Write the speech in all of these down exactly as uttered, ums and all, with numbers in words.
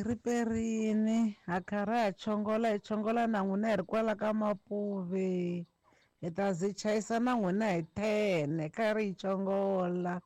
Riperini ha karhi ha chongola hi chongola na n'wina hi ri kwala ka Mapuve hi ta zi chayisa na n'wina hi ten karhi hi chongola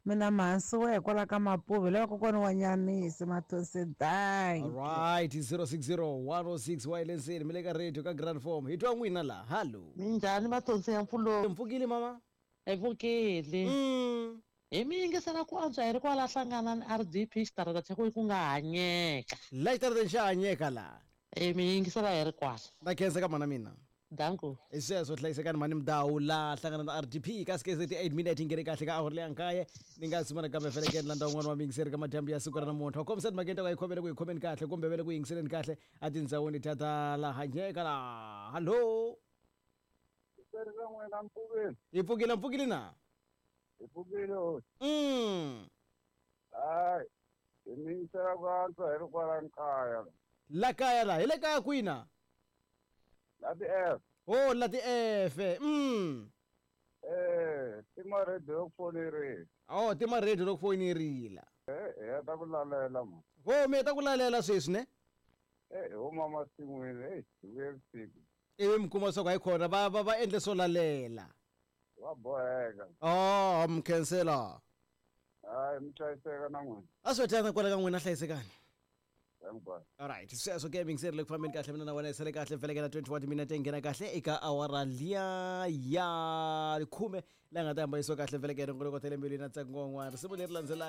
mina mhansi wa hikwalaho ka Mapuve lava kokwani wa Nyanisi Mathonsi danki. Alright, zero six zero one oh six wa lenseni mi le ka radio ka Grand Form hi twa n'wina la hallo. Minjhani Mathonsi ya mpfulo? Mpfukile mama. Hi pfukile. Mm. Hi mi yingisela ku antswa hi ri kwala hlangana ni R D P xitarata xa ku ku nga hanyeka. La xitarateni xa hanyeka la. E mi yingisela hi ri kwala. Na khensa ka mana mina. Danko. Hi sweswo hlayisekani mhani Mdawu la hlangana na R D P ka six thirty-eight minute yi nghene kahle ka awara leya nkaye ni nga sumana kambe felekeni landza un'wana wa miyingiseri ka madyambu ya siku ra namuntlha wa kombisa timhakeni ta ku a yi khomele ku yi khomeni kahle kumbe ve le ku yingiseleni kahle a tindhawini ta ta la hanyeka la hallo. Hi pfukile mpfukile na hi pfukile hosi. Mm. Hayi hi mi yingisela ku antswa hi ri kwala kaya la kaya la hi le kaya kwina la ti-F. Oh la ti-F. Mm. Eh, tima radio yo ku fonerile. Oh tima radio yo ku fonerile. Eh, hi heta ku lalela ma. Oh mi heta ku lalela sweswi ne? Eh, hi huma masin'wini, hey, hi vuye vusiku. Ivi mi kuma swa ku hayikhona va va va endle swo lalela. Va boheka. Oh, mi khensela. Hayi mi hlayiseka na n'wina. A swi tana kwala ka n'wina hlayisekani. Alright, sweswo ke mingiseri le ku fambeni kahle mina na wena hi sale kahle velekela twenty-one minute yi nghena kahle eka awara liya ya khume la nga ta hambanisiwa kahle velekela nkoloko ta le mbilwini na ntsengo wun'wana risimu leri landzelaka.